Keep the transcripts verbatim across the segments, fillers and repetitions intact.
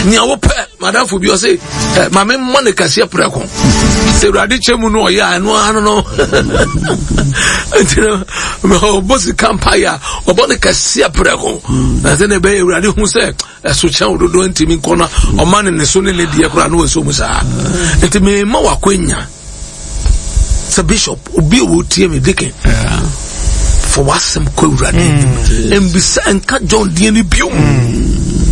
Nea wopɛ madamfo bi ɔse eh, ma memmɔ ne kɛseɛ prɛko sɛ Awurade kyɛ mu no ɔyɛ a ɛno ano no nti no ɔbɔ sika mpaeɛ a ɔbɔ ne kɛseɛ prɛko na sɛ ne ɛbɛyɛ Awurade hu sɛ ɛso kyɛn wo dodoɔ ntumi nkɔ no ɔma ne ne so ne ne deɛ koraa na wɔnso mu saa. Nti mema wakwanya sɛ bishop obi a wɔtie me deacon for wasɛm kɔ Awurade anim mbisa nka John deɛ no bio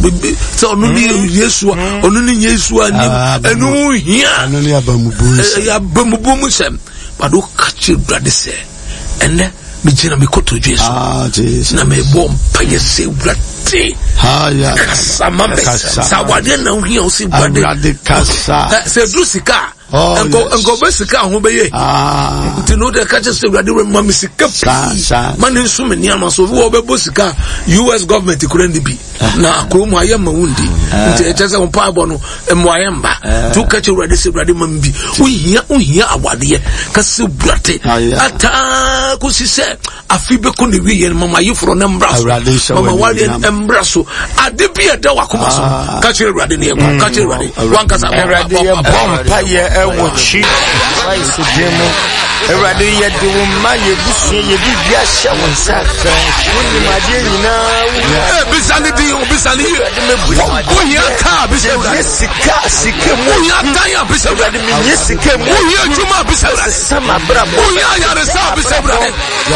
sɛ ɔno ne Yesu a ɔno ne Yesu a nim ɛno hia ɛyɛ abamubuo mu sɛm but woka kyerɛ Awurade sɛ ɛnɛ megyina me kotodwe so na mebɔ mpayɛ sɛ Awurade kasa ma me sɛ awadeɛ na wohia wo sɛ Awurade sɛ ɛduru sika a nkɔ bɛ sika ho bɛyɛ nti no wode ka kyerɛ sɛ Awurade ma me sika pii ma ne nso me nneɛma so obi wɔ bɛbɔ sika U S government kura ne bi na kurom ayɛ ma wo ndi nti ɛkyɛ sɛ wo mpaebɔ no mmoayɛ mba nti woka kyerɛ Awurade sɛ Awurade ma me bi wohia wohia awadeɛ ka sɛ Awurade ataa kɔsi sɛ afi bɛkɔ ne wieɛ no mama ayeforɔ no mmra so mama wadeɛ no mmra so ade bi a ɛda wakoma so ka kyerɛ Awurade ne yɛkɔ ka kyerɛ Awurade wankasa Awurade yɛbɔ mpayɛ ɛwɔ Jesus Christ din mu. Awurade yɛde wo mma yɛbusua yɛbiribi ahyɛ wo nsa wonim adeɛ nyinaa wo bisa ne din bisa ne yie wohia kaa bisa Awurade sika sika mu wohia dan a bisa Awurade menyɛ sika mu wohia adwuma a bisa Awurade sama abrabɔ wohia ayaresa a bisa Awurade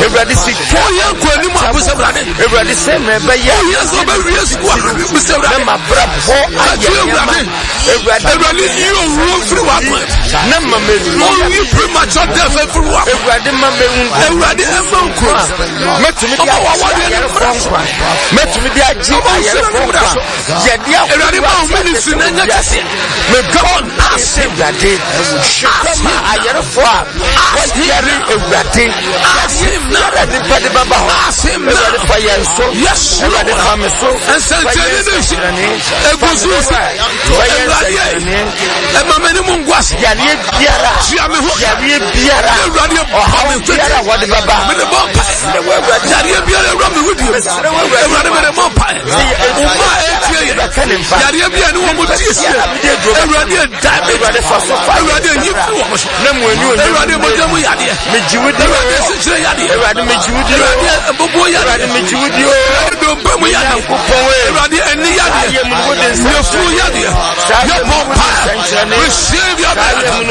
Awurade sika wohia nkɔanim a bisa Awurade Awurade sɛ mɛbɛyɛ wohia sɛ wobɛwie sukuu a bisa Awurade na mabrabɔ ayɛ Awurade Awurade yi owuo mfiri w'akwan na ma mɛwu ɔnyi premature death mfiri w'akwan Awurade ma mɛwu Awurade ɛma nkwa mɛtumi de agye ayɛrefoɔ nkwa mɛtumi de agye ayɛrefoɔ nkwa yɛde Awurade ma wo ministry na nyɛ kɛseɛ mebɔ ase Awurade hwɛ ma ayɛrefoɔ a wɔyɛre Awurade yɛre nipa de bɛba hɔ Awurade fa yɛn so Awurade fa me so nsɛnkyerɛnne ne nhyɛ egu so sɛ Awurade ɛma m'anim ngu ase yareɛ biara tua me ho yareɛ biara Awurade ɔhaw biara wɔde bɛba mede bɔ mpaeɛ yareɛ biara awura me wedie Awurade mede bɔ mpaeɛ ɔma a ɛtie yɛ yareɛ biara ne wɔn mo die sie Awurade diabetes Awurade yi firi wɔn so Awurade mogya mu yadeɛ Awurade asikyire yadeɛ Awurade megye wo di Awurade bobo yadeɛ Awurade megye wo di Awurade dompe mu yadeɛ Awurade ani yadeɛ yɛfuru yadeɛ yɛbɔ mpaeɛ receive your miracle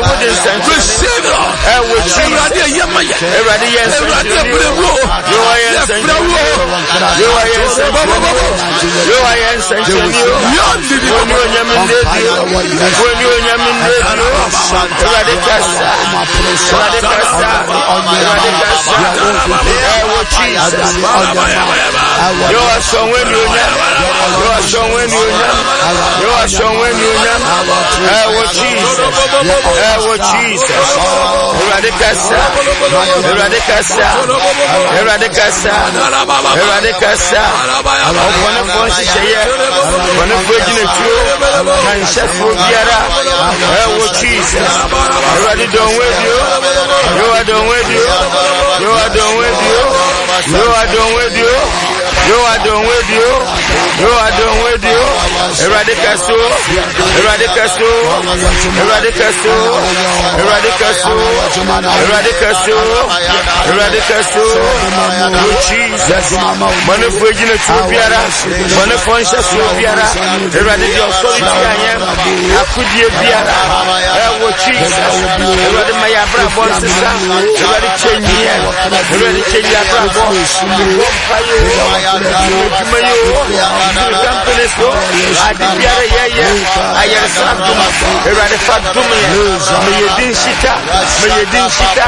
receive your Awurade ɛyɛ ma yɛ Awurade yɛ Awurade ɛbrɛ wo yɛfrɛ wo bɔbɔbɔbɔ Yehowa yɛ nsɛnkyerɛnne o. Woni onyame ndedi o. Woni onyame ndedi o. Awurade kasa. Awurade kasa. Awurade kasa. Ɛwɔ Jesus. Yehowa sɔ wani onyam. Yehowa sɔ wani onyam. Yehowa sɔ wani onyam. Ɛwɔ Jesus. Ɛwɔ Jesus. Awurade kasa. Awurade kasa. Awurade kasa. Awurade kasa. Ɔbɔnefoɔ nhyehyɛeɛ bɔnefoɔ gyinatuo na nhyɛfoɔ biara ɛwɔ Jesus. Awurade dɔn wo adio Yehowa dɔn wo adio Yehowa dɔn wo adio Yehowa dɔn wo adio Yehowa dɔn wo adio Yehowa dɔn wo adio Awurade kɛso Awurade kɛso Awurade kɛso Awurade kɛso Awurade kɛso Awurade kɛso wɔ Jesus. Bɔnefoɔ gyinatuo biara bɔnefoɔ nhyɛsoɔ biara Awurade deɛ ɔsɔre tia yɛn akodie biara ɛwɔ Jesus. Awurade ma yɛ abrabɔ nsesa Awurade kyɛ nyiɛ Awurade kyɛ yɛ abrabɔ bɔ mpa yɛ o adwuma yɛ o siri kampani so ade biara yɛyɛ ayɛresa dom Awurade fa dom yɛ ma yɛ din hyita ma yɛ din hyita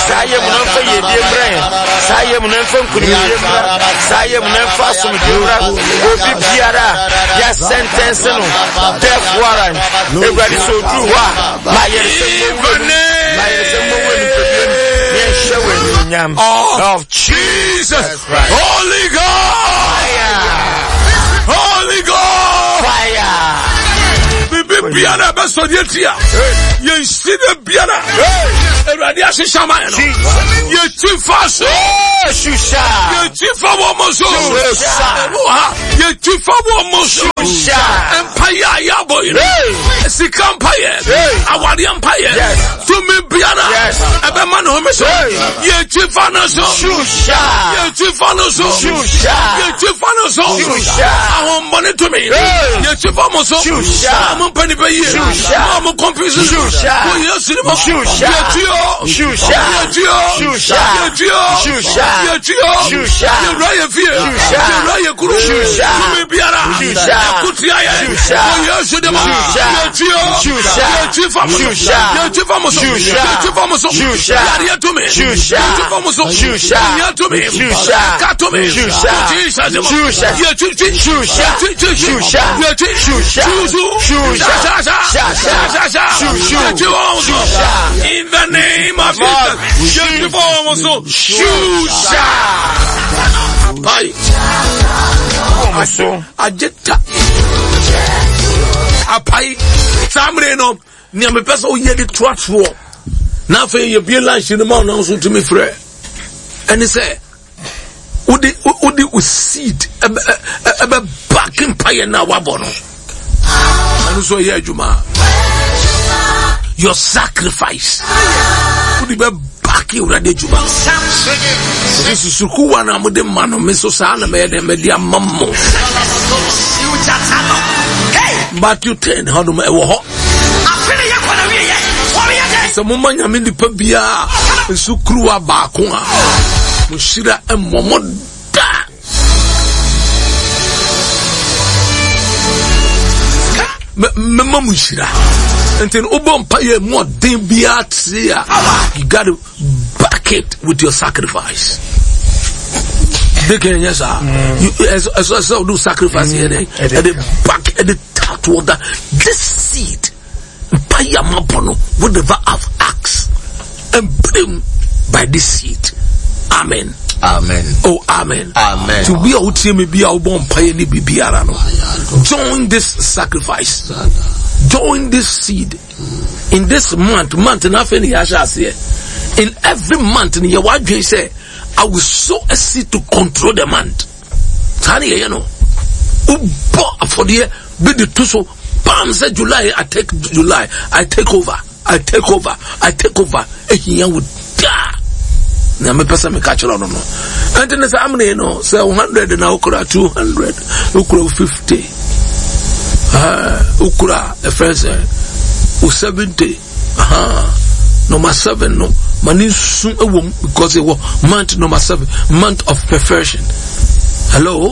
saa yɛ mu na mfa yɛ die mmerɛ yɛn saa yɛ mu na mfa nkunimdie mmra saa yɛ mu na mfa asomdwe mmra obi biara yɛ sentence no death warrant Awurade sɛ oduru hɔ a ma yɛresɛ mmɔwura mu ma yɛresɛ mmɔwura nipadua mu yɛnhyɛ wɔ animuonyam of Jesus Christ. Holy Ghost fire Holy Ghost fire bibi biara ɛbɛsɔ deɛ tia yɛnsi de biara Awurade ahyehyɛ ama yɛ no yɛtwi fa so yɛtwi fa wɔ mo so ɛwɔ ha yɛtwi fa wɔ mo so mpayɛ a yɛabɔ yi no sika mpayɛ awadeɛ mpayɛ tumi biara ɛbɛma ne home so yɛtwi fa no so yɛtwi fa no so yɛtwi fa no so ahombɔne tumi yɛtwi fa mo so a mo mpa nipa yie a mo kɔmpi so wɔ Yesu ni mo yɛtwi o yɛtwi o yɛtwi o yɛtwi o yɛwura yɛ fie yɛwura yɛ kuro tumi biara ɛkotia yɛ wɔ Yesu ni mo yɛtwi o yɛtwi fa mo so yɛtwi fa mo so yɛtwi fa mo so yareɛ tumi yɛtwi fa mo so ohia tumi ɛka tumi Jesus ni mo yɛtwi twi yɛtwi twi yɛtwi tuusu sasa yɛtwi wɔn so in the name of Jesus yɛtwi wɔn so shusha apai agye ta apai saa mmere no nea mepɛ sɛ woyɛ de toa soɔ na afei yɛbie lunch no ma wo nso tumi frɛ ɛne sɛ wode wode wo seed ɛbɛ back mpaeɛ no a wabɔ no ɛno nso ɛyɛ adwuma your sacrifice wode bɛ back awurade adwuma no ɛsɛ susukuwa no a mode ma no me so saa na mɛyɛ dɛ mɛde ama mo Matthew ten hɔnom ɛwɔ hɔ sɛ moma nyame nipa biara nsu kuruwa baako a mo hyira mmɔ mo da mɛma mo nhyira nti no wobɔ mpa yɛ mu ɔden biara tee a you got to back it with your sacrifice deacon nyɛ saa ɛsɛ sɛ wode sacrifice yɛ dɛ ɛde back ɛde tatoɔ da this seed mpaeɛ a mabɔ no whatever I've asked ɛmbrem by this seed amen amen oh amen amen to be a wotie me bi a wobɔ mpaeɛ ne biribiara no join this sacrifice join this seed in this month month na afei ne yɛahyɛ aseɛ in every month ne yɛwɔ adwene sɛ I will sow a seed to control the month saa ne yɛyɛ no wobɔ afɔdeɛ bi de to so pam sɛ July I take July I take over I take over I take over ehia wo daa na mepɛ sɛ meka kyerɛ no no ɛnti ne saa amene no sɛ hundred na wokura two hundred wokura fifty wokura ɛfrɛ sɛ wo seventy number seven no ma ne nsu wɔ mu because ɛwɔ month number seven month of perfection hello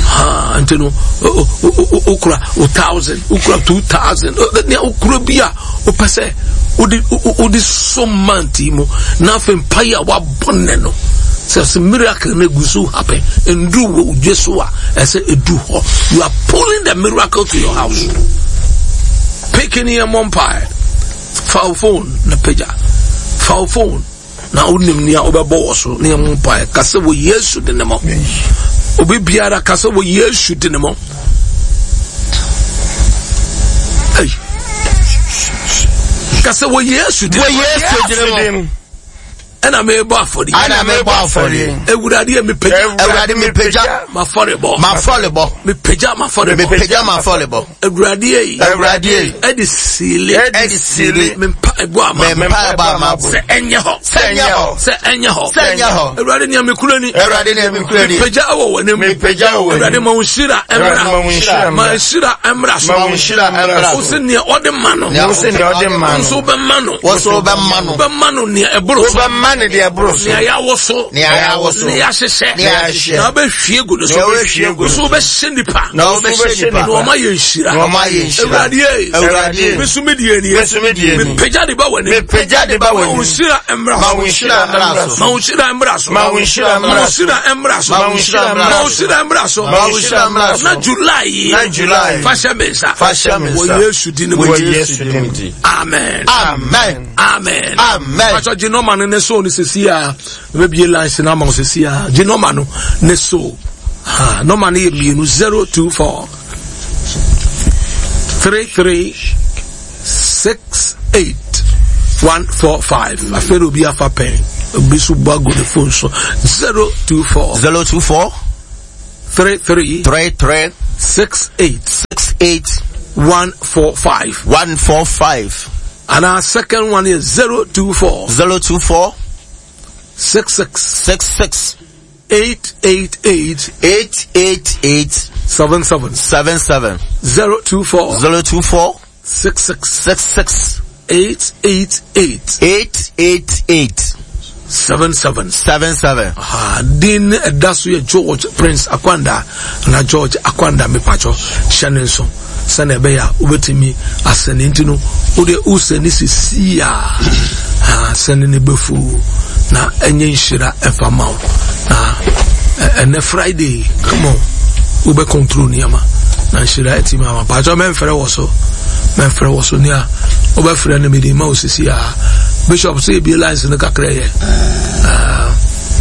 ha nti no wokura wo thousand wokura two thousand nea wokura bi a wopɛ sɛ wode wode so month yi mu na afei mpaeɛ a wabɔ nnɛ no sɛ sɛ miracle no egu so happen nduru wɔ odwe so a ɛsɛ edu hɔ you are pulling the miracle to your house picking yɛ mmɔ mpaeɛ fa wo phone na pagya fa wo phone na wonim nea wobɛbɔ wɔ so ne yɛmmɔ mpaeɛ ka sɛ wɔ yesu de ne mɔ obi biara ka sɛ wɔ yesu de ne mɔ ka sɛ wɔ yesu de wɔ yesu de ne mɔ ɛna mebɔ afɔdeɛ ɛna mebɔ afɔdeɛ awurade yɛ mepagya awurade mepagya m'afɔrebɔ m'afɔrebɔ mepagya m'afɔrebɔ mepagya m'afɔrebɔ awurade yi awurade yi ɛde siile ɛde siile me mpa ɛbɔ ama me mpa ɛbɔ ama sɛ ɛnyɛ hɔ sɛ ɛnyɛ hɔ sɛ ɛnyɛ hɔ sɛ ɛnyɛ hɔ awurade nea mekura ni awurade nea mekura ni mepagya wɔ w'anim mepagya wɔ w'anim awurade ma wo nhyira ɛmmra ma nhyira ɛmmra so ma wo nhyira ɛmmra so wo se nea ɔde ma no wo se nea ɔde ma no nso wobɛma no wo so wobɛma no wobɛma no nea ɛboro so wobɛma no deɛ ɛboro so nea yɛawo so nea yɛawo so nea yɛahyehyɛ nea yɛahyehyɛ na wobɛhwie gu no so na wobɛhwie gu no so wobɛhyɛ nipa na wobɛhyɛ nipa na wɔma yɛ nhyira na wɔma yɛ nhyira awurade ye awurade ye me so me deɛ nie me so me deɛ nie mepagya de ba w'anim mepagya de ba w'anim ma wo nhyira mmra ma wo nhyira mmra so ma wo nhyira mmra so ma wo nhyira mmra so mmra so ma wo nhyira mmra so ma wo nhyira mmra so ma wo nhyira mmra so na July yi na July fa hyɛ me nsa fa hyɛ me nsa wɔ Yesu din mu wɔ Yesu din mu amen amen amen amen pàtó gye nɔɔma no ne so ne sisi a ebebie lines na ama wo sisi a gye nɔɔma no ne so ha nɔɔma no yɛ mmienu zero two four three three six eight one four five. Afei obi afa pɛn, obi so bɔ agu ne phone so zero two four zero two four three three three three six eight six eight one four five one four five. And our second one is zero two four zero two four six six six six eight eight eight eight eight eight seven seven seven seven zero two four zero two four six six six six eight eight eight eight eight eight seven seven seven seven. Ah, din ɛda so yɛ George Prince Akwanda na George Akwanda mepatwɔ hyɛ ne nso sɛnea ɛbɛyɛ a wobɛtumi asɛne nti no wode wosɛne sisi a sɛne ne bɛfu na ɛnyɛ nhyira ɛmfa ma wo na ɛnɛ Friday come on wobɛ control nneɛma na nhyira atumi ama patwɔ mɛmfrɛ wɔ so mɛmfrɛ wɔ so nea wobɛfrɛ no mede ma wo sisi a Bishop sɛ ebie lines no kakra yɛ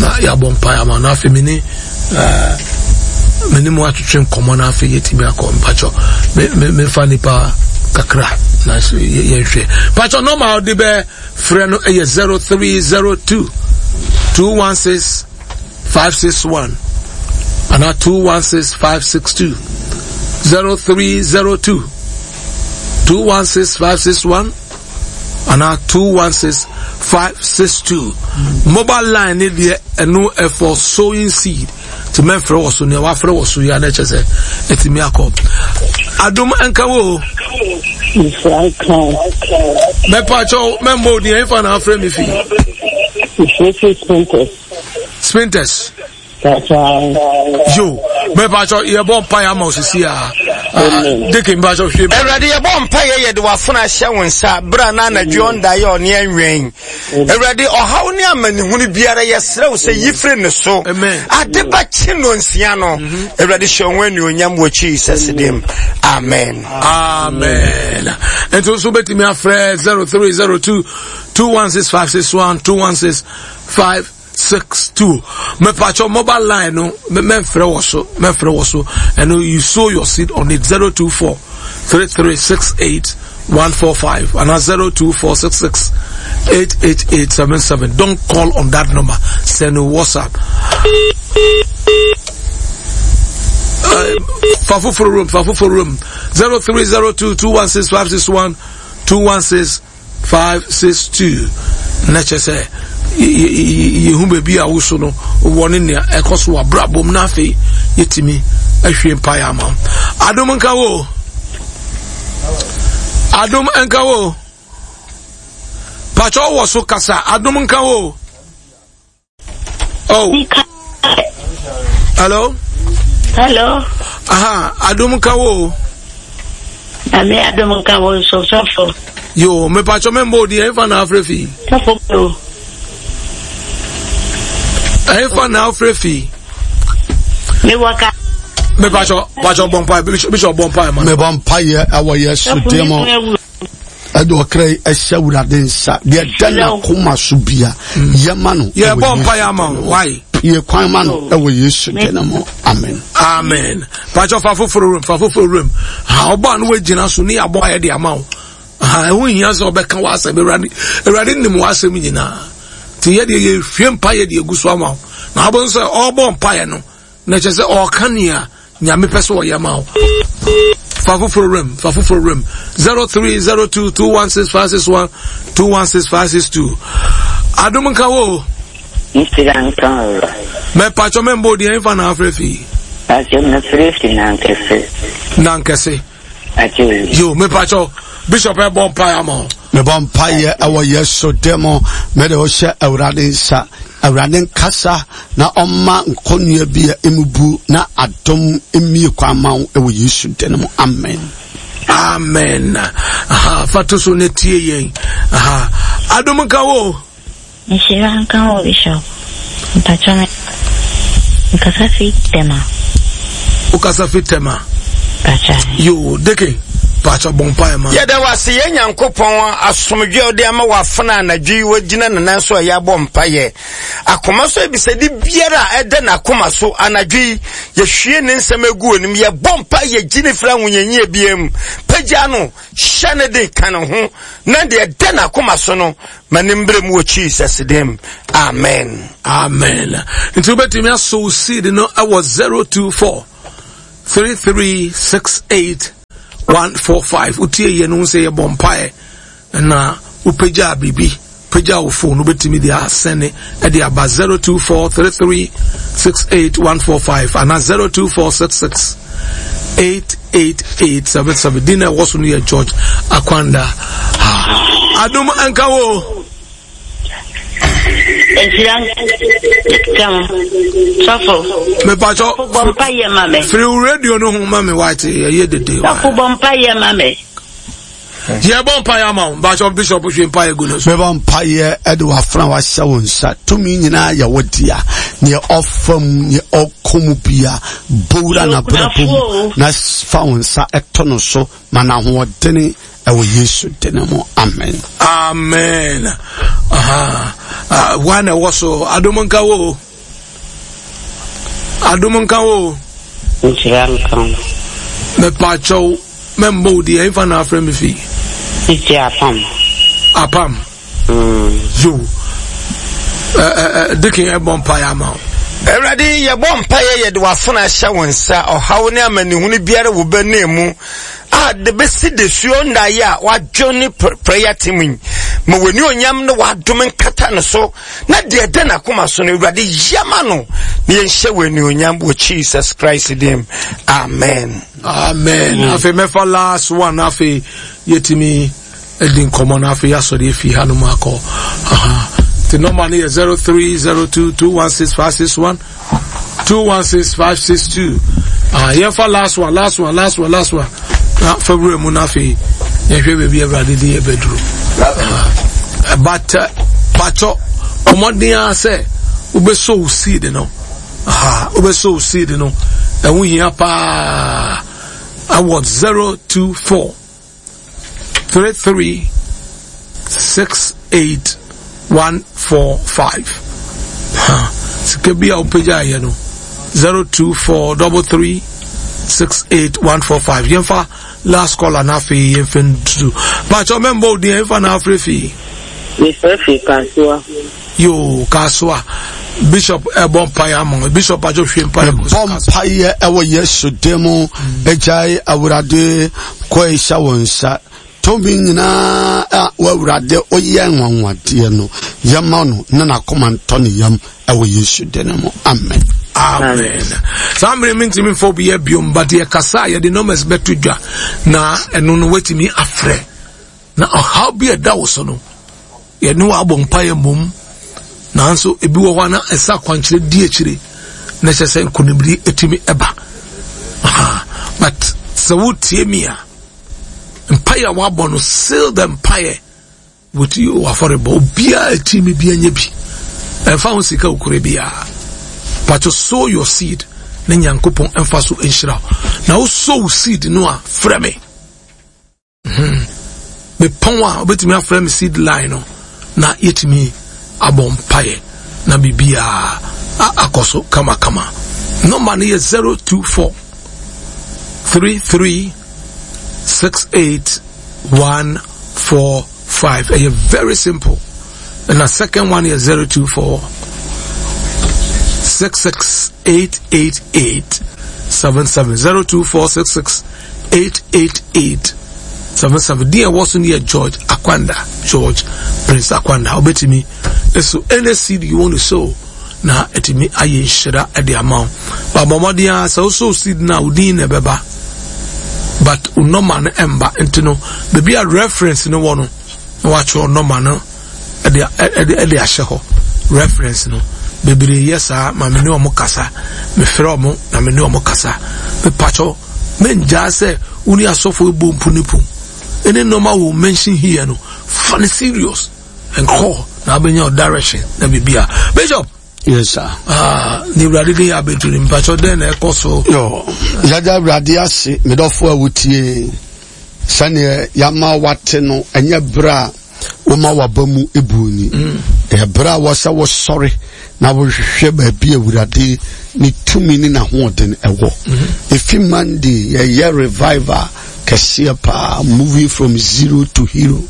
na yɛabɔ mpaeɛ ama no afei mene mene mu atwetwe nkɔmmɔ no afei yɛtumi akɔ mpakyɛ memfa nipa kakra na yɛnhwɛ mpakyɛ nɔma wode bɛ frɛ no ɛyɛ zero three zero two two one six five six one anaa two one six five six two zero three zero two two one six five six one anaa two one six five six two. Mobile line ne deɛ ɛno ɛfɔ sowing seed ti mɛfrɛ wɔ so nea wafrɛ wɔ so yi a na ɛkyɛ sɛ ɛtumi akɔ adom nka wo mɛpa kyɛw mɛmmɔ odin ɛmfa na afrɛ me fi Spinters yo mɛpa kyɛw yɛbɔ mpaeɛ ama osisi a deke mpa kyɛw hwɛ Awurade yɛbɔ mpaeɛ yɛde w'afono ahyɛ wo nsa berɛ a na anadwo ɔnda yɛ ɔne anwɛn Awurade ɔhaw ne amanehunu biara yɛsrɛ wo sɛ yi firi ne so ade bɛkye no nsia no Awurade hyɛ wo anuonyam wɔ Jesus dim. Amen. Amen. Nti nso bɛtumi afrɛ zero three zero two two one six five six one two one six five six two. Mepatcho mobile line no memfrɛ wɔ so memfrɛ wɔ so and you sow your seed on it zero two four three three six eight one four five and zero two four six six eight eight eight seven seven. Don't call on that number. Send a WhatsApp. Uh, Fafufuru room, Fafufuru room zero three zero two two one six five six one two one six five six two. Nature say yehu baby a wo no wo ne nea ɛkɔ so abrabom na afei yɛtumi ahwie mpaeɛ ama adom nka wo adom nka wo patro wɔ so kasa adom nka wo oh hello hello aha adom nka wo ame adom nka wo so sɔfo yo me patro me mbo di ɛmfa na afrɛ fi sɔfo o ɛmfa na afrɛ fi me waka me patro patro bɔ mpae bishop bɔ mpae ma me bɔ mpae ɛwɔ Yesu din mu ɛde ɔkra yi ɛhyɛ Awurade nsa deɛ ɛda n'akoma so bia yɛma no yɛbɔ mpae ama wo why yɛ kwan ma no ɛwɔ Yesu din mu. Amen. Amen. Patro fa foforo room fa foforo room ha ɔbɔ ano wagyina so ne yɛabɔ ayɛ de ama wo ha ɛho hia sɛ ɔbɛka w'asɛm Awurade Awurade nim w'asɛm nyinaa nti yɛdeɛ yɛhwie mpaeɛ de agu so ama wo na abɔ nso sɛ ɔrebɔ mpaeɛ no na kyerɛ sɛ ɔreka nea nyame pɛ sɛ ɔyɛ ma wo fa foforo room fa foforo room zero three zero two two one six five six one two one six five six two adom nka wo nhyira nka wo mɛpatwɔ mɛmbɔ odi ɛmfa na afrɛ fi patwɔ mɛfrɛ fi nankɛse nankɛse yo mɛpatwɔ bishop ɛbɔ mpaeɛ ama wo mebɔ mpaeɛ ɛwɔ Yesu din mu mede wo hyɛ Awurade nsa Awurade nkasa na ɔma nkɔnnua bi a emubu na adom mmie kwan ma wo ɛwɔ Yesu din mu. Amen. Amen. Aha, fa to so ne tie yɛn. Aha, adom nka wo nhyira nka wo Bishop mpatwɔ me nkasa fi Tema wokasa fi Tema patwɔ yo deke Mpakyɛ bɔ mpaeɛ ma. Yɛda wo ase yɛn Nyankopɔn asomdwe a wode ama w'afena anadwo yi wagyina ne nan so a yɛabɔ mpaeɛ. Akoma so abisade biara a ɛda n'akoma so anadwo yi, yɛhwie ne nsɛm agu w'anim. Yɛbɔ mpaeɛ yɛgye ne firi ahohiahia biara mu. Pagya no, hyɛ ne den, ka ne ho, na deɛ ɛda n'akoma so no, ma ne mbrɛ mu wɔ Jesus dim. Amen. Amen. Nti wobɛtumi asow seed no ɛwɔ zero two four three three six eight one four five. Wotie yɛ no ho sɛ yɛbɔ mpaeɛ na wopagyaa biribi, pagya wo phone, wobɛtumi de asɛne ɛde aba zero two four three three six eight one four five anaa zero two four six six eight eight eight seven seven. Din na ɛwɔ so no yɛ George Akwanda. Adom nka wo. Nhyira nka mo. Sɔfo. Mepatɔ. Bɔ mpa yɛ ma me. Firi wo radio no ho ma me white ɛyɛ dede. Sɔfo bɔ mpa yɛ ma me. Yɛ bɔ mpa yɛ ama wo. Mpatɔ Bishop hwe mpa yɛ gu no so. Mebɔ mpa yɛ ɛde wafena wahyɛ wo nsa. Tumi nyinaa yɛ wo dea. Neɛ ɔfa mu, neɛ ɔkɔ mu bia, bowura na brabɔ mu na fa wo nsa ɛto no so ma n'ahoɔdene ɛwɔ Yesu dene mu. Amen. Amen. Aha. Uh, one ɛwɔ so adom nka wo. Adom nka wo. Nhyira nka wo. Mepakyɛw mɛmbɔ wo deɛ ɛmfa na afrɛ me fi. Titi apam. Apam. Mm. Yo. Dikin ɛbɔ mpaeɛ ama wo. Awurade yɛbɔ mpaeɛ yɛde w'afena ahyɛ wo nsa ɔhaw ne amanehunu biara wɔ bɛne mu a de bɛsi desuo nnaeɛ a wadwo ne prayer team yi ma w'ani onyam ne w'adom nkata no so na deɛ ɛda n'akoma so no Awurade yɛma no na yɛnhyɛ w'ani onyam wɔ Jesus Christ dim. Amen. Amen. Mm. Afei mɛfa last one afei yɛtumi di nkɔmmɔ no afei yɛasɔre afi hanom akɔ. Aha. The number no yɛ zero three zero two two one six five six one two one six five six two. Ah, yɛmfa last one, last one, last one, last one. Na February mu na afei yɛhwɛ baabi Awurade de yɛbɛduru. Ah, but uh, patɔ ɔmɔden ara sɛ wobɛsɔ wo seed no. Aha, wobɛsɔ wo seed no. Ɛho hia paa. Awɔ zero two four three three six eight one four five. Ha, sika bi a wopagya ayɛ no zero two four double three six eight one four five. Yɛmfa last caller na afei yɛmfa ntu. Pakyɛ mɛmbɔ wo din yɛmfa na afrɛ fii. Mefrɛ firi Kasoa. Yo, Kasoa. Bishop ɛbɔ mpaeɛ ama wo. Bishop pakyɛ hwie mpaeɛ gu so. Bɔ mpaeɛ ɛwɔ Yesu din mu. Agyae Awurade kɔ ɛhyɛ wo nsa. Tumi nyinaa a w'Awurade woyɛ nwanwadeɛ no, yɛma no na n'akoma ntɔ ne yam ɛwɔ Yesu din mu. Amen. Amen. Saa mmere mi ntumi nfa obi yɛ biom, but yɛ kasa a yɛde numbers bɛto dwa na ɛno no watumi afrɛ na ɔhaw bi a ɛda wo so no yɛne wɔ abɔ mpaeɛ mmom, nanso ebi wɔ hɔ a na ɛsɛ akwankyerɛ di akyire na ɛhyɛ sɛ nkonimdi etumi ɛba. But sɛ wotie mi a, mpaeɛ a wabɔ no, seal the mpaeɛ with you afɔrebɔ. Obiara eti mi bi anya bi ɛnfa ho sika okure biara, but to sow your seed ne Nyankopɔn ɛnfa so nhyira wo. Na wo sow seed no a, frɛ me. Hmm. Mepɔn a wobɛtumi afrɛ me seed line no na yɛtumi abɔ mpaeɛ na biribiara akɔ so kamakama. Nɔmba no yɛ zero two four three three six eight one four five. Ɛyɛ very simple. And the second one is zero two four six six eight eight eight seven seven zero two four six six eight eight eight seven seven. Dear Watson here, George Akwanda, George Prince Akwanda. Obetimi. So any seed you want to sow, na etimi aye nhyira de ama wo. Ba bɔmmɔden a sɛ wo seed na wo din na ɛbɛba, but wo nɔma no ɛmba, nti no baabi a reference no wɔ no na watwerɛ nɔma no ɛde ɛde ɛde ahyɛ hɔ. Reference no bebree yɛ saa ma me ne ɔmo kasa, mefrɛ ɔmo na me ne ɔmo kasa. Mepakyɛw mengyaa sɛ wo ne asɔfo ebɔ mpu ne pum ɛne nɔma wo mention here no, fa ne serious and call na abɛnya wo direction na biribi a. Bishop. Yes sir. Ah, ne Awurade de yɛ abɛduru no, mpakyɛw dɛn na ɛkɔ so? Yo, yɛda Awurade ase, medɔfo a wotie. Sɛneɛ yɛama wate no, ɛnyɛ berɛ a woma waba mu ebuo ni. Ɛyɛ berɛ a wɔsɛ wosɔre na wohwehwɛ baabi Awurade ne tumi ne n'ahoɔden ɛwɔ. Efi Monday yɛyɛ revival kɛseɛ paa, moving from zero to hero.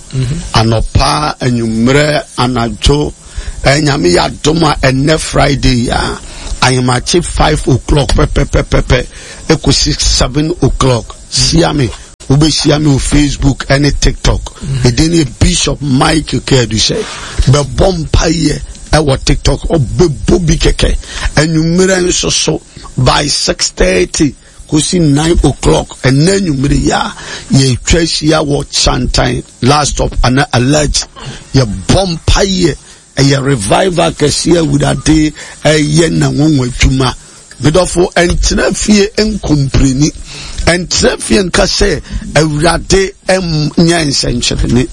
Anɔpa, anwummerɛ, anadwo, Nyame yɛ adom a ɛnnɛ Friday a ahemakye five o'clock pɛpɛpɛpɛpɛ ekosi seven o'clock. Hyia me, wobɛhyia me wɔ Facebook ɛne TikTok. Ɛdin ne Bishop Michael Kɛdusɛ. Bɛbɔ mpaeɛ ɛwɔ TikTok, ɔbɛbɔ bi kɛkɛ. Anwummerɛ nso so by six thirty kosi nine o'clock ɛnɛ anwummerɛ yi a yɛtwa ahyia wɔ Chantan last stop ana alert. Yɛbɔ mpaeɛ, ɛyɛ revival kɛseɛ Awurade ɛyɛ n'anwanwa adwuma. Medɔfo, ɛntena fie nkompreni, ɛntena fie nka sɛ Awurade nyɛ nsɛnkyerɛnne.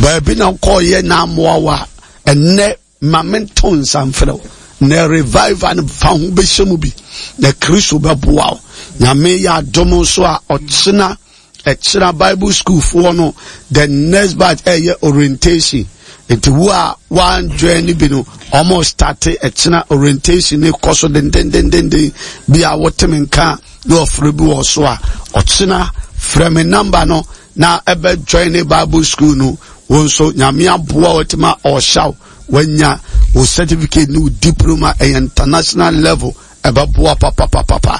Baabi na kɔɔyɛ na amoa wa ɛnɛ ma mento nsa mfrɛ wo. Na revival no fa ho bɛhyɛ mu bi na Kristo bɛboa wo. Nyame yɛ adom nso a ɔkyena ɛkyena Bible school foɔ no the next batch ɛyɛ orientation. Nti wo a wan join ni bi no, ɔmo start ɛkyena orientation ne kɔ so dendendendenden. Bi a woteme nka na ɔfrɛ bi wɔ so a, ɔkyena frɛ me number no na ɛbɛ join ne Bible school no. Wo nso Nyame aboa wo tema ɔhyɛw wanya wo certificate ne wo diploma, ɛyɛ international level, ɛbɛboa papapapapa.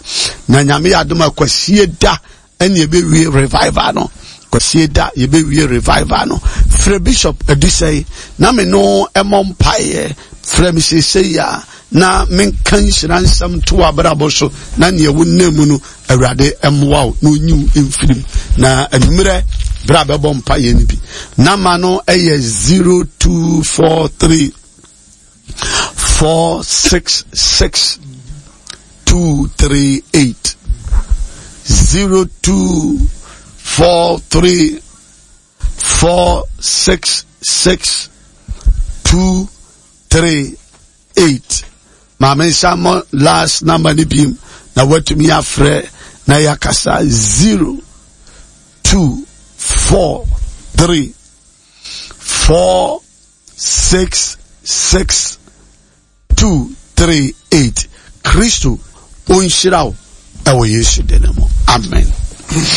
Na Nyame yɛ adom a kwasie da ɛne yɛbɛwie revival no. Kwasie da yɛbɛwie revival no. Frɛ Bishop Adusɛi na me no ɛmɔ mpaeɛ. Frɛ me seesei a na menka nhyira nsɛm to abrabɔ so na nea wonam mu no Awurade mmoa wo na onyi wo mfirim. Na anwummerɛ berɛ a bɛbɔ mpaeɛ no bi, nama no ɛyɛ zero two four three four six six two three eight, zero two four three four six six two three eight. Maame nsa mo last number ni biem na watumi afrɛ na yakasa zero two four three four six six two three eight. Kristo onhyira wo ɛwɔ Yesu din mu. Amen.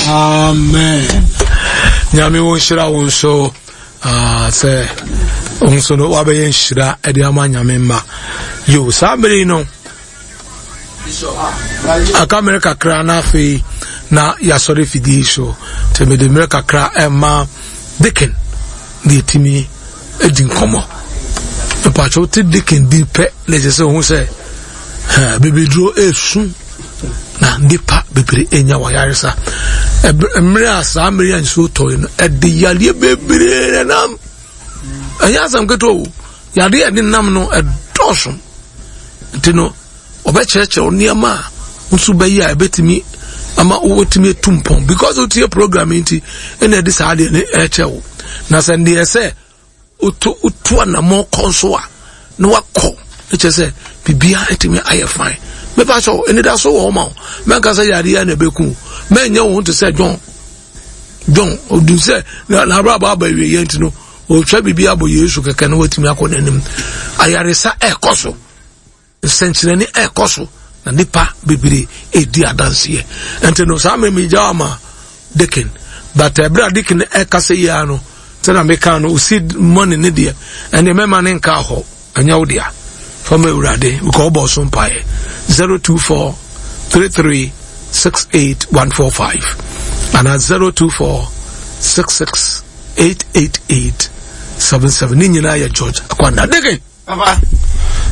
Amen. Nyame wo nhyira wo nso sɛ nso no wabɛyɛ nhyira ɛde ama Nyame mma. Yo, saa mmere yi no aka mmere kakra na afei na yɛasɔre fidie so. Nti mede mmere kakra ɛma Deacon na yɛtumi adi nkɔmmɔ. Mpatwɛ wote Deacon din pɛ na ɛkyɛ sɛ ohu sɛ bibiduro esu na nipa bebree enya wɔn yaresa. Mmerɛ a saa mmerɛ a nsuo tɔ yi no, ɛde yadeɛ bebree na nam. Ɛnyɛ asɛm ketewa o. Yadeɛ a ɛde nam no ɛdɔɔso. Nti no, ɔbɛkyerɛkyerɛ nneɛma a nso bɛyɛ a ɛbɛtumi ama wotumi atu mpɔn. Because wotie program yi nti ɛna ɛde saa adeɛ no ɛkyɛ wo. Na sɛ ndeɛ sɛ wotu wotu anammɔn kɔ nso a na wakɔ, ne kyerɛ sɛ biribiara atumi ayɛ fine. Mepa kyɛw, anidaso wɔ hɔ ma wo. Mɛnka sɛ yadeɛ na ɛbɛku. Mɛnyɛ wo ho te sɛ John. John ɔdu sɛ n'abrabɔ aba awieeɛ nti no ɔtwa biribi abɔ Yesu kɛkɛ na watumi akɔ n'anim. Ayaresa ɛrekɔ so, nsɛnkyerɛnne ɛrekɔ so, na nipa bebree ɛredi adanseɛ. Nti no saa mmemme gya ama Deacon, but ɛberɛ a Deacon ɛkasa yi ara no, sɛdeɛ meka no, osi money ne deɛ ɛnneɛ mɛma ne nka hɔ, ɛnyɛ wo dea. Fama Awurade, because ɔbɔ so mpaeɛ. zero two four three three six eight one four five ana zero two four six six eight eight eight seven seven. Ne nyinaa yɛ George Akwanda. Deacon. Papa.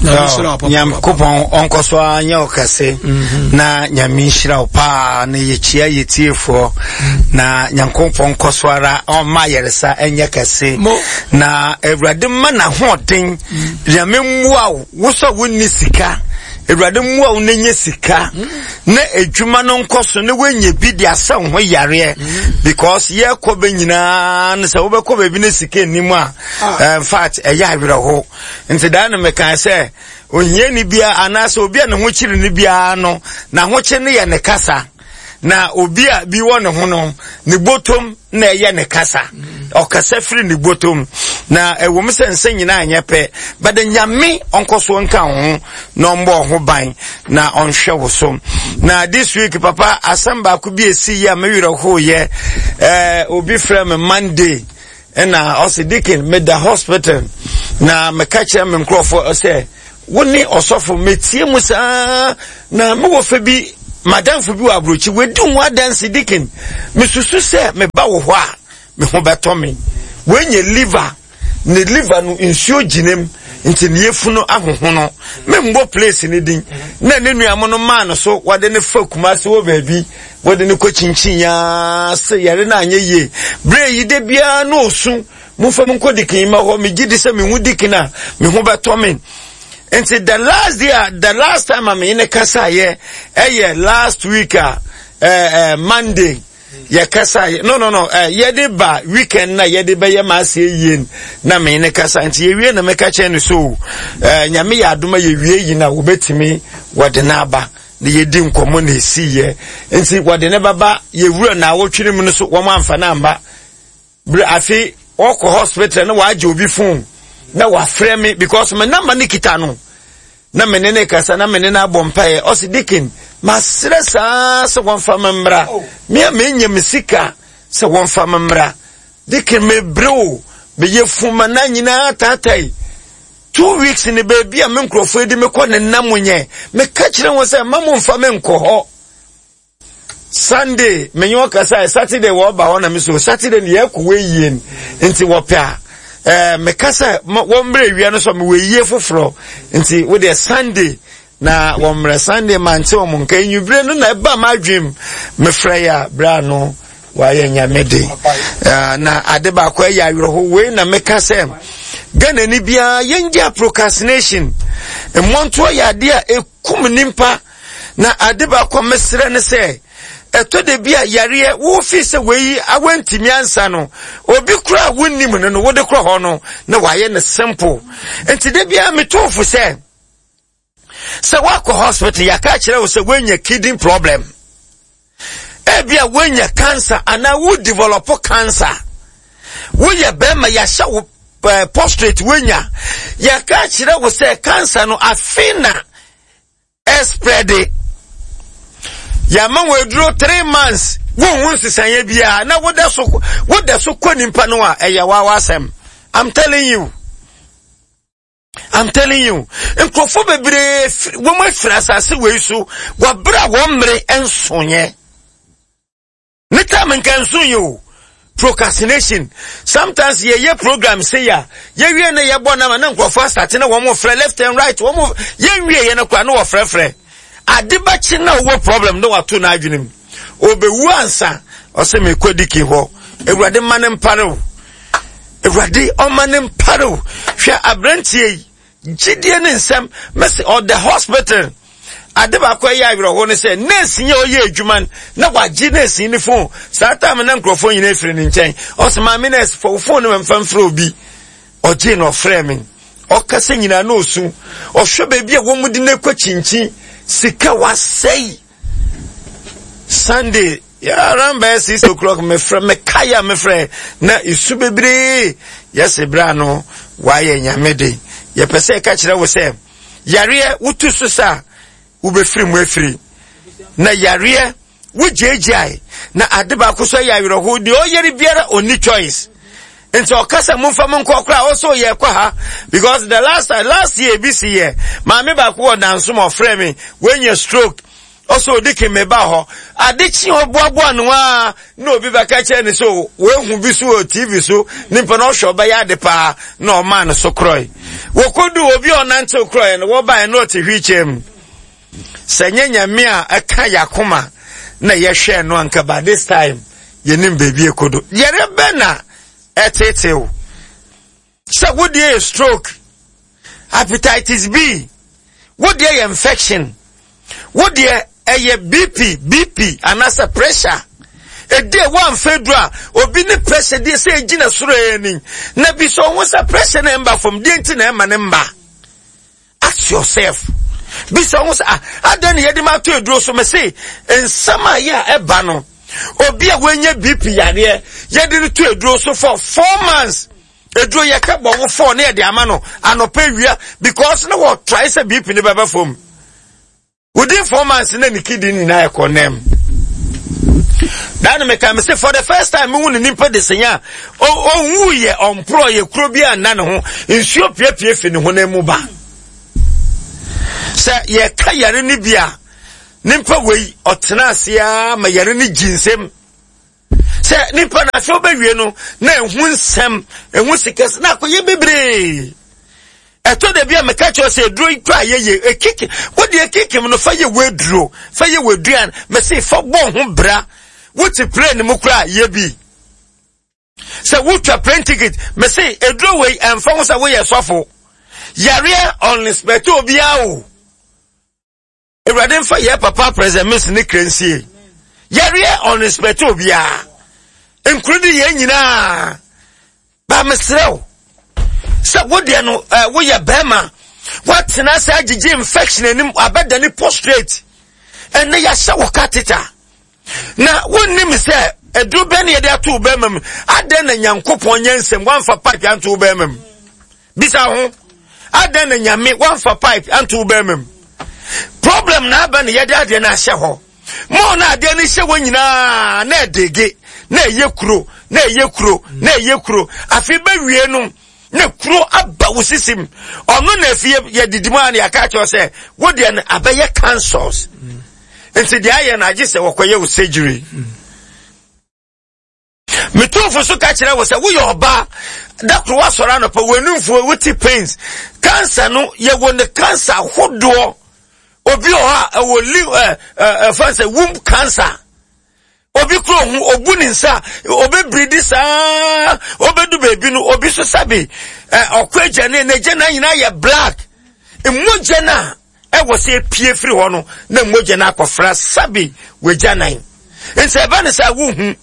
Nyankopɔn ɔnkɔ so ara nyɛ wo kɛse na Nyame nhyira wo paa na yɛkyia yɛtiefoɔ na Nyankopɔn nkɔ so ara ɔmma ayaresa ɛnyɛ kɛse na Awurade ma n'ahoɔden. Nyame mmoa wo, wo sɛ wonni sika, Awurade mmoa wo na nya sika na adwuma no nkɔ so na woanya bi de asɛ wo ho yareɛ, because yɛkɔ bɛ nyinaa no sɛ wobɛkɔ baabi na sika nnim a, in fact ɛyɛ awerɛho. Nti daa no mekaa sɛ ohiani biara anaasɛ obi a ne ho kyere no biara no, n'ahokye no yɛ ne kasa. Na obi a bi wɔ ne ho no, ne botom na ɛyɛ ne kasa. Ɔkasa firi ne botom. Na ɛwɔ mu sɛ nsɛ nyinaa nyɛ pɛ, but Nyame ɔnkɔ so nka wo ho na ɔmbɔ ho ban na ɔnhwɛ wo so. Na this week, papa, asɛm baako bi esi yi a me werɛ hoyɛ. Eh, obi frɛ me Monday. Ɛna ɔse, "Deacon, meda hospital." Na meka kyerɛ me nkurɔfoɔ sɛ wo ne ɔsɔfo metie mu saa na mewɔ fɛ bi, madamfo bi wɔ aburokyi wadi ho adanse. "Deacon, mesusu sɛ meba wo hɔ a me ho bɛtɔ me." Wɔnyɛ liver, ne liver no nsuo gyina mu, nti ne yɛfunu ahohono. Membɔ place ne din na ne nuamo no maa no so wɔde ne fa Kumase wɔ baabi, wɔde ne kɔ kyinkyin yaa sɛ yɛre no anyɛ yie. Berɛ yi de biara na ɔsu, "Momfa mu nkɔ Deacon ma hɔ, megye di sɛ mehu Deacon a me ho bɛtɔ me." Nti the last day a, the last time a menye ne kasaeɛ ɛyɛ last week a ɛɛ ɛɛ Monday yɛkasa. no no no eh, yɛde ba weekend na yɛde bɛyɛ ma aseɛ yie na me ne kasa. Nti yɛwie na meka kyerɛ no so eh, Nyame yɛ adoma yɛwie yi na wɔbɛtumi wɔde no aba na yɛdi nkɔmmɔ na ɛsiiɛ. Nti wɔde ne bɛba yɛwura na awɔtwere mu no so, wɔn amfa no amba. Berɛ afe ɔkɔ hospital na wagye obi phone na wafrɛ me because me number ne kita no, na me ne ne kasa na me ne no abɔ mpaeɛ. Ɔsi, "Deacon, masrɛ saa sɛ wɔmfa me mmra, me a menya me sika sɛ wɔmfa me mmra. Deacon, mebrɛ o, meyɛ fuma na nyinaa taatai two weeks ne baabi a me nkurɔfoɔ adi mekɔ ne nam nyɛ. Meka kyerɛ wɔn sɛ ma mo mfa me nkɔ hɔ Sunday." Menye ɔkasa Saturday wɔba hɔ na me so Saturday ne yɛkɔ wɔ yie. Nti wɔpɛ a ɛɛ meka sɛ wɔn mmerɛ wia no so mewɔ yie foforɔ, nti wodeɛ Sunday na wɔn mmerɛ. Sunday mante wɔn nka. Enwibere no na ɛba ma adwem mefrɛ yɛ a berɛ ano wayɛ Nyame de. Na ade baako ɛyɛ awerɛho wei na meka sɛ Ghana ni biara yɛngye procrastination mmɔntoɔ yɛ adeɛ a ɛkum nipa. Na ade baako a mesrɛ ne sɛ ɛtɔ da bi a yareɛ wofi sɛ wei awantumi ansa no, obi kora a wonnim no no wode korɔ hɔ no na wayɛ no simple. Nti da biara metofo sɛ sɛ woakɔ hospital, yɛaka kyerɛ wo sɛ woanya kidney problem, ebi a woanya cancer anaa wo develop cancer, woyɛ bɛrima yɛahyɛ wo uh, prostate woanya, yɛaka kyerɛ wo sɛ cancer no afe na ɛspread, yàmà wɔ aduro three months wonhu nsesaeɛ biara, na woda so woda so kɔ nipa no a, ɛyɛ wawa asɛm. I'm telling you, I'm telling you, nkurɔfoɔ bebree wɔn afiri asase wei so wɔabere a wɔn mmere nsonyɛ ne time nka nso yi o. Procrastination, sometimes yɛyɛ program se ya yɛwie ne yɛbɔ nama na nkurɔfoɔ asate na wɔn frɛ left and right. Wɔn yɛnwie yɛ no kora na wɔfrɛfrɛ ade bɛkye na ɔwɔ problem na wato n'adwene mu obewu ansa ɔsɛ mekɔ Deacon hɔ. Awurade ma ne mpare o, Awurade ɔma ne mpare o. Hwɛ aberanteɛ yi gyidie ne nsɛm mɛsɛ ɔda hospital. Ade baako ɛyɛ awerɛho ne sɛ nurse yɛ ɔyɛ adwuma na wagye nurse ne phone. Saa time na nkurɔfoɔ nyinaa efiri ne nkyɛn. Ɔsɛ, "Maame nurse, fɔ phone no mfa mfrɛ obi." Ɔgye na ɔfrɛ me, ɔkasa nyinaa na osu. Ɔhwɛ baabi a wɔn de ne kɔ kyinkyin, sika wasɛe. Sunday around bɛyɛ six o'clock mefrɛ, mekae a mefrɛ na esu bebree. Yɛsɛ bere ano wayɛ Nyame de. Yɛpɛ sɛ ɛka kyerɛ wo sɛ yareɛ wotu so sa wobɛfiri mu afiri na yareɛ wogyaagyae. Na ade baako so yɛ awerɛho, deɛ ɔyɛre biara ɔnni choice. Nti ɔka sɛ momfa mo nkɔ koraa ɔsɛ ɔyɛ kɔ ha because the last time, last year bi si yɛ maame baako wɔ Danso ma ɔfrɛ me, wɔanya stroke. Ɔsɛ odi ke meba hɔ ade kye ɔboaboa no a na obi bɛka kyerɛ ne so wɔahu bi so wɔ T V so, nipa na ɔhwɛ ɔbɛyɛ ade paa na ɔmaa no so korɔe. Wɔkɔdu obi a ɔnantew korɔe no, wɔbaeɛ na ɔte wheelchair mu. Sɛ nyɛ Nyame a ɛka yɛakoma na yɛhwɛ no anka by this time yɛnim baabi ekodo. Yɛrɛ bɛ na ɛtetew sɛ wodeɛ yɛ stroke, hepatitis B, wodeɛ yɛ infection, wodeɛ ɛyɛ B P B P anaasɛ pressure ɛdi a woamfa duru a obi ne pressure deɛ sɛ ɛgyina soro ani na bi sɛ ɔho sɛ pressure na ɛmba fam deɛ nti na ɛma ne mba. Ask yourself. Bisa ho sɛ, ah, adɛn ne yɛde ma ato aduro so? Me se nsɛm a yɛ a ɛba no, obi a wanya B P yareɛ, yɛde no to aduro so for four months. Aduro yɛka bɔ wo four ne yɛde ama no anɔpa wia, because na wɔ try sɛ B P ne bɛbɛ fam. Within four months na ne kidney nyinaa ɛkɔ nɛm. That me can say for the first time me won nimpa de senya o ye ɔmporɔ ye kuro bi anna ne ho nsuo piepie fi ne ho na mu ba. Sɛ ye ka yare ne bia nimpa wei ɔtena ase a ma yare ne ginsem. Sɛ nimpa na afɛ obewie no na ehu nsɛm ehu sikes na akoye bebree. Eto de bia meka kyerɛ sɛ eduro ikwa ye ye ekiki wo de ekikim no fa ye weduro fa ye weduan me se fa bɔ ho bra wo ti plane mu kra ye bi sɛ wo twa plane ticket me se eduro we emfa ho sɛ wo ye sɔfo yare on inspector obi awo Ewurade mfa ye papa president miss ne krensie yare on inspector obi a including ye nyina ba mesrɛw sɛ wo deɛ no wo yɛ bɛrima woatena sɛ agyegye infection anim abɛda ne prostrate ɛnɛ yɛahyɛ wo catheter na wonnim sɛ aduro bɛn ne yɛde ato wo bɛrima mu. Adɛn na Nyankopɔn nyɛ nsɛm woamfa pipe anto wo bɛrima mu? Bisa ho, adɛn na Nyame woamfa pipe anto wo bɛrima mu? Problem na aba ne yɛde adeɛ no ahyɛ hɔ mo na adeɛ no hyɛ wɔ nyinaa na ɛdege na ɛyɛ kuro na ɛyɛ kuro na ɛyɛ kuro afei bɛwie no na kuro aba wo sisim ɔno na afie yɛdidi mu a na yɛaka kyerɛ sɛ wo deɛ no abɛyɛ cancers nti deɛ ayɛ no agye sɛ wɔkɔyɛ wo surgery. Metofo so ka kyerɛ wo sɛ woyɛ ɔbaa da koro woasɔre anɔpa w'anumfoɔ wote pains cancer no yɛwɔ ne cancer hodoɔ. Obi wɔ hɔ a ɛwɔ li ɛ ɛ ɛfa sɛ womb cancer. Obi kuro ho obu ne nsa obebiridi saa obedu beebi no obi so sabi ɛ ɔkɔ agya ne n'agya na nyinaa yɛ black mmogya na ɛwɔ sɛ epie firi hɔ no na mmogya na akɔfra sabi wagya nan nsa ɛba ne sɛ wohu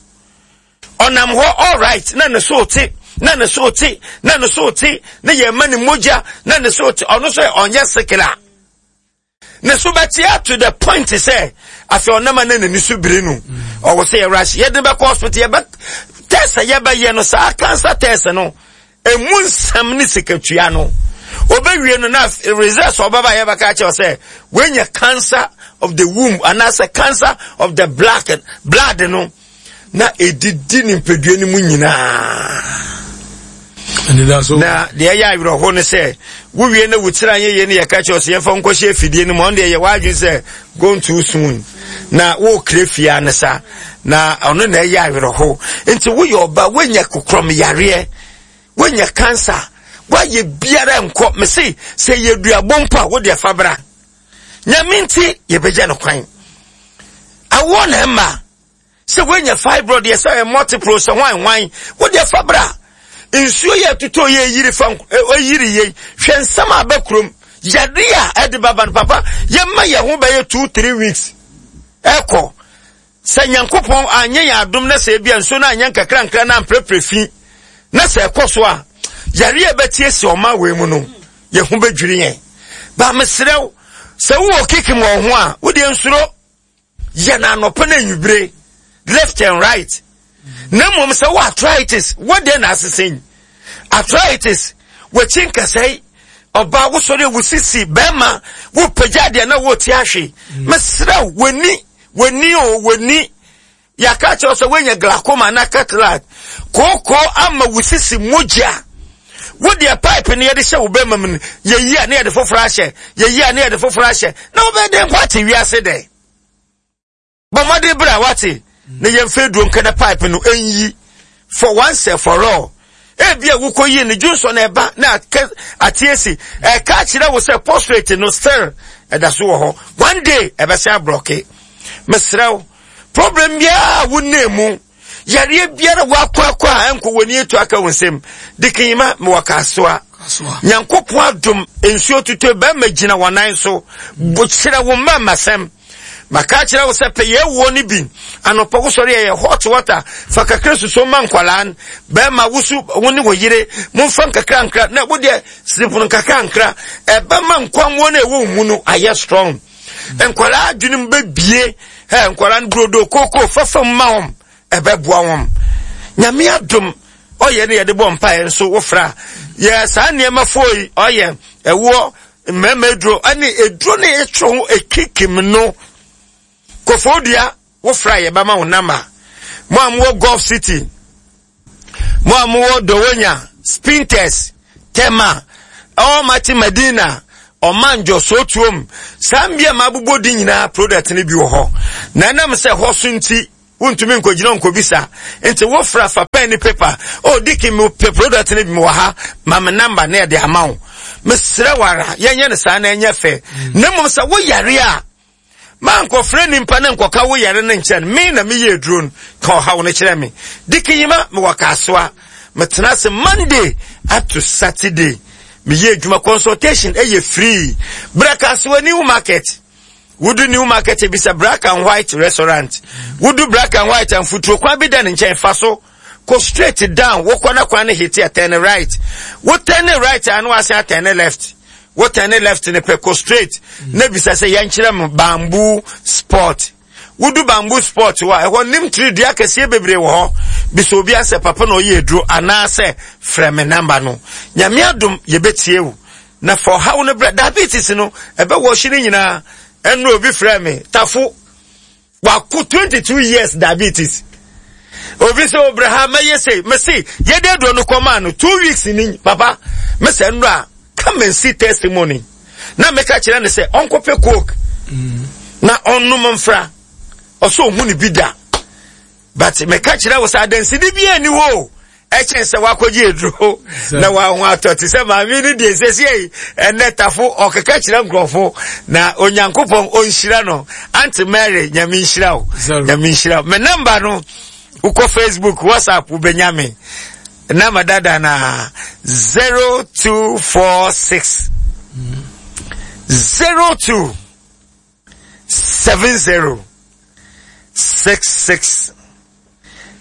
ɔnam hɔ all right na ne so te na ne so te na ne so te na yɛ ma ne mmogya na ne so te ɔno so ɔnyɛ sikila. Ne so bɛte to the point sɛ afei ɔnam na n'ani so biri no ɔwɔ sɛ yɛwura ase yɛde bɛkɔ hospital yɛbɛ test yɛbɛyɛ no saa cancer test no emu nsɛm ne sikatua no obewie no na results ɔbɛba yɛbɛka kyerɛ sɛ wenya cancer of the womb anaasɛ cancer of the black blood no na edidi ne mpedua no mu nyinaa. Na deɛ ɛyɛ awerɛho ne sɛ wowie na wotira nyɛ yie ne yɛka kyerɛ sɛ yɛmfa nkɔhyɛ afidie no mu ɔno deɛ yɛ w'adwene sɛ go too soon na wokra fie ne sa na ɔno na ɛyɛ awerɛho. Nti woyɛ ɔba woanya kokorɔm yareɛ woanya cancer woayɛ biara nkɔ me se sɛ yɛ duabɔ mpo a wode afa bra Nyame nti yɛbɛgya no kwan awoɔ na ɛma sɛ woanya fibroid yɛ sɛ multiple sɛ hwan hwan wode afa bra nsuo yɛ tutɔ yɛ yiri fa yiri yɛ hwɛ nsɛm a bɛkurom yare a ɛde baba no papa yɛma yɛn ho bɛyɛ two three weeks ɛkɔ sɛ Nyankopɔn anyɛ yɛn adom na sɛ ebia nsuo no anyɛ nkakra nkra na amprɛprɛ fi na sɛ ɛkɔ so a yare a ɛbɛtie si ɔma wei mu no yɛn ho bɛdwiri yɛn ba mesrɛ wo sɛ wowɔ kikim wɔ ho a wode nsuro yɛ na anɔpa na anwummere left and right na mmom sɛ wo arthritis wɔde na asesɛn arthritis wɔkyi nkasɛe ɔbaa wosɔre wo sisi bɛrima wo pagya deɛ na wɔte ahwe mesrɛ w'ani w'ani o w'ani yɛaka kyerɛ sɛ woanya glaucoma na cataract kooko ama wo sisi mogya wo deɛ pipe no yɛde hyɛ wo bɛrima mu no yɛyi a ne yɛde foforɔ ahyɛ yɛyi a ne yɛde foforɔ ahyɛ na wobɛyɛ dɛn mpo ate wiase dɛ bɔ mmɔden berɛ a wate na yɛmfa aduro nka na pipe no ɛnyi for once and for all ebia wokɔ yi ne dwonsɔ na ɛba na ate asi ɛka kyerɛ wo sɛ prostrate no still ɛda so wɔ hɔ one day ɛbɛsɛ abrɔke mesrɛ wo problem biara wo nne mu yareɛ biara wakɔ akɔ a ɛnkɔ w'ani etu aka wo nsam dikinyima mewɔ kasoa Nyankopɔn adom nsuo tutu bɛrima gyina wɔn nan so kyerɛ wo mma mmasɛm Maka akyerɛ wo sɛ pɛ yɛ wuo no bi. Anɔpa wosɔre a yɛ hot water fa kakra suso ma nkwadaa no. Bɛrima wosu wo ne wo yere momfa nkakra nkra na wo deɛ siripono nkakra nkra. Ɛbɛma nkwammoɔ no a ɛwɔ wo mu no ayɛ strong. Nkwadaa adwene mu bɛbie. Ɛ nkwadaa no brodo koko fafa mu ma wɔn ɛbɛboa wɔn. Nyame adom ɔyɛ ne yɛde bɔ mpaeɛ nso wofra yɛ saa nneɛma foɔ yi ɔyɛ ɛwoɔ mmarima aduro ɛne aduro ne ɛtwerɛ ho ekikim no kofodua wofra yɛbɛma wo nama mo a mowɔ Gulf City, mo a mowɔ Dowonya, Spintex, Tema, Almighty Medina, Ɔmanjo, Sotuom, saa mbea ma abobɔ di nyinaa product no bi wɔ hɔ na ɛnam sɛ hɔ so nti wontumi nkɔgyina nkɔbisa nti wofra fa pen ne paper o diki me pɛ product no bi wɔ ha ma me number na yɛde ama wo. Mesrɛ wara yɛnyɛ no saa na ɛnyɛ fɛ. Na mmom sɛ woyare a ma nkɔfrɛ nimpa ne nkɔka wo yare no nkyɛn me na meyɛ aduro no ka ɔhaw no kyerɛ me. Diki yima mewɔ Kasoa, metena ase Monday up to Saturday meyɛ adwuma. Consultation ɛyɛ free. Bra Kasoa New Market, wodu New Market bisa Black and White Restaurant. Wodu Black and White amfuturo kwan bi da ne nkyɛn fa so kɔ straight down wokɔ na kwan no hit a turn right. Wo turn right a na wasan turn left. Wo turn left ne pɛ kɔ straight na bisa sɛ yɛnkyerɛ mo Bamboo Sport. Wodu Bamboo Sport hɔ a ɛhɔ nim tiri dua kɛseɛ bebree wɔ hɔ. Bisa obi asɛ papa na ɔyɛ aduro anaasɛ frɛ me namba no. Nyame adom yɛbɛtie wo. Na fa ɔhaw no brɛ. Diabetes no ɛbɛwɔ hye no nyinaa. Ɛno obi frɛ me tafo wako twenty-two years diabetes. Obi sɛ obrɛ ha mɛyɛ sei mese yɛde aduro no kɔmaa no two weeks ni papa mesɛ nnura come and see testimony. Na meka kyerɛ ne sɛ ɔnkɔpɛ coke na ɔnnom mfra ɔsɛ ɔhu ne bi da. But meka kyerɛ wo sɛ adansedi bi ani hɔ o ɛkyɛn sɛ wakɔgye aduro na waho atɔ te sɛ maame no deɛ sɛsie yi ɛnɛ tafo ɔkeka kyerɛ nkurɔfo na Onyankopɔn ɔnhyira no. Auntie Mary Nyame nhyira wo, Nyame nhyira wo. Me namba no wokɔ Facebook, WhatsApp wobɛnya me namba dada na zero two four six zero two seven zero six six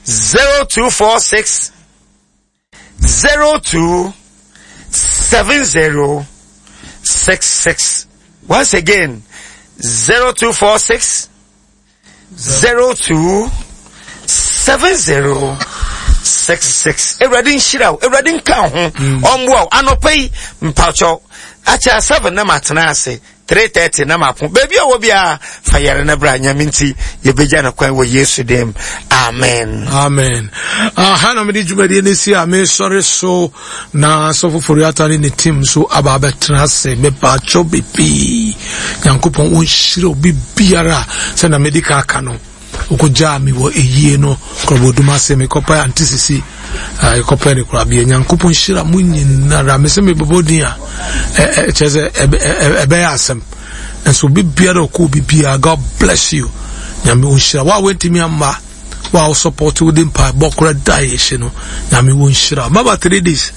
zero two four six zero two seven zero six six. Once again, zero two four six zero two seven zero six six. Ewurade nhyira wo, Ewurade nka ho, ɔmboa wo. Anɔpa yi mpakyɛw akyɛ seven na matena ase three thirty na mapo. Baabi a wɔ biara fa yare na bra Nyame nti yɛbɛgya no kwan wɔ Yesu dim. Amen. Amen. Aha na mede dwumadie no si a mesɔre so na sɔfo Foriata ne ne team so aba abɛtena ase. Mepakyɛw bebree. Nyankopɔn ɔnhyira obi biara sɛ na mede ka aka no. Okogyaa me wɔ eyie no korɔbɔdum ase mekɔpɛ Ante Sisi yɛkɔpɛ ne korabea. Nyankopɔn hyira mo nyinara. Mese mebɛbɔ din a kyerɛ sɛ ɛbɛyɛ asɛm. Nso obi biara ɔkɔ obi biara, God bless you. Nyame ɔnhyira wo a woantumi amma wo a wo support wo de mpaebɔ kora da yɛhyɛ no. Nyame ɔnhyira mama three days.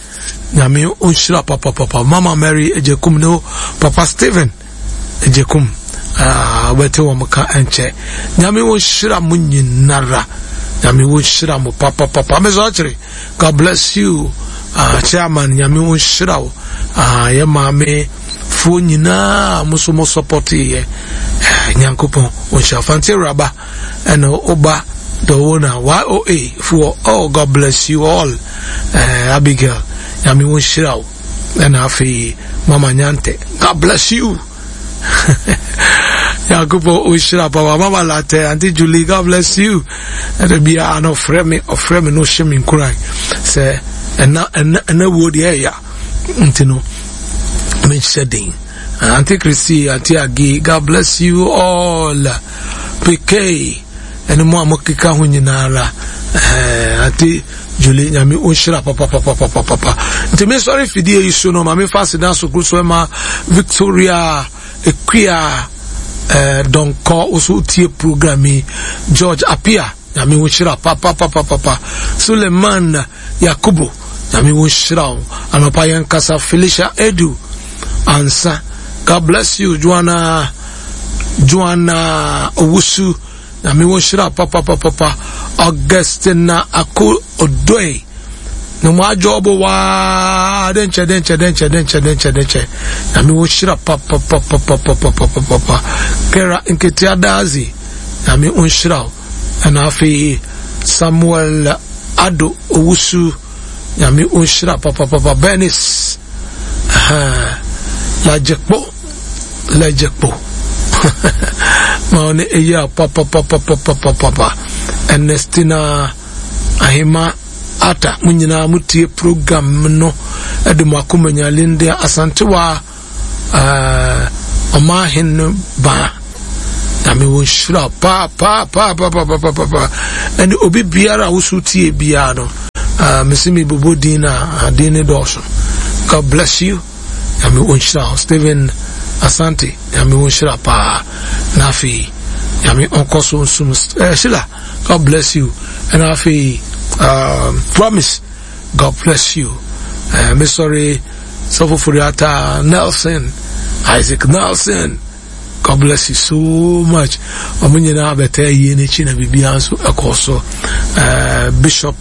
Nyame ɔnhyira papa papa. Mama Mary Ejekum ne Papa Stephen Ejekum ah wobɛte wɔn ka nkyɛ. Nyame ɔnhyira mo nyinara. Nyame ɔnhyira mo papa papa. Mesɛ ɔkyere God bless you. Ah chairman Nyame ɔnhyira wo. Ah yɛ maame foɔ nyinaa mo so mo support yɛ. Nyankopɔn ɔnhyira Fante Raba ɛna ɔba Dɔwona Y O A foɔ. Oh God bless you all. Eh, Abigail Nyame ɔnhyira wo. Ɛna afei Mama Nyante God bless you. Nyankopɔn ɔnhyira papa. Mama Latte, Auntie Julie God bless you. Ɛna biara no ɔfrɛ me ɔfrɛ me no ɔhyɛ me nkuran sɛ ɛna ɛna ɛna wuo deɛ ɛya nti no menhyɛ den. Auntie Christy, Auntie Agi God bless you all. P K ɛne mo a mokeka ho nyinara. Eh, Auntie Julie Nyame ɔnhyira papa papa papa papa. Nti me sɔre fidie yi so no ma me fa aseda sokoro so ɛma Victoria Ekuya eh, Donkɔ woso tie program yi. George Apia Nyame ɔnhyira papa papa papa. Suleiman Yakubu Nyame ɔnhyira wo. Anɔpa yɛn kasa Felicia Edu Ansa God bless you. Joanna Joanna Owusu, Nyame wo nhyira papapapapa. Augustina Ako Odoe, na mo adwo waa denkyɛ denkyɛ denkyɛ denkyɛ denkyɛ denkyɛ. Nyame wo nhyira papapapapapapapa. Kera Nketea Dazi, Nyame wo nhyira wo. Ɛna afei Samuel Ado Owusu, Nyame wo nhyira papapapa. Bernice Lajekpo Lajekpo ma ɔne eyi a papapapapapapa. Ernestina Ahima Ata, mo nyinaa motie program no ɛde mo akoma nya. Linda Asantewa, ɔman no baa, Nyame wo nhyira pa pa pa pa pa pa pa pa. Ɛne obi biara a woso tie biara no, mesi mi bobɔ din na din ne dɔɔso. God bless you. Nyame wo nhyira. Stephen Asante, Nyame wo nhyira paa. Na afei Nyame ɔnkɔ so nsum. uh, Sheila, God bless you. Ɛna afei um, Promise, God bless you. uh, me sorry, Sɔfo Furiata Nelson, Isaac Nelson, God bless you so much. Ɔmo nyinaa bɛtɛ yie n'akyi na biribiara nso ɛkɔ so. uh, Bishop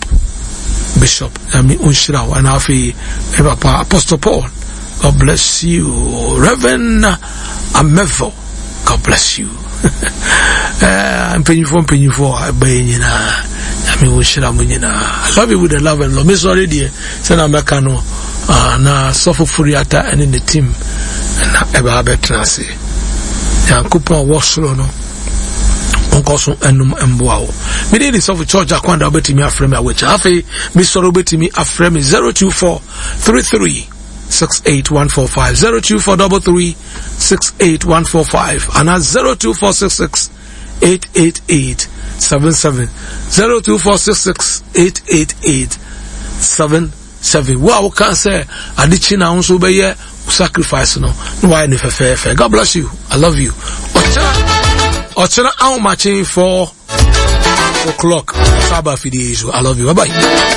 Bishop, Nyame nhyira wo. Ɛna afei me papa Apostle Paul, God bless you. Reverend Amevo, God bless you. Mpanyinfoɔ mpanyinfoɔ a ɛbɛyɛ nyinaa, Nyame wo nhyira mo nyinaa. I love you with the love and love. Me sɔre deɛ sɛnea mɛka no, na Sɔfo Furiata ɛne ne team na ɛbɛ abɛtena ase. Nyankopɔn a ɔwɔ soro no nkɔ so ɛnum mboa wo. Mede de Sɔfo Church Akwanda, wobɛtumi afrɛ me awɔkyi. Afei mesɔre, wobɛtumi afrɛ me zero two four three three six eight one four five, zero two four double three six eight one four five, and zero two four six six eight eight eight seven seven, zero two four six six eight eight eight seven seven. Wo a woka sɛ adekyi na nso bɛyɛ sacrifice no na wayɛ ne fɛfɛɛfɛ. God bless you. I love you. Ɔkyena ɔkyena ahomakye four o'clock saba fidie so. I love you. Bye bye.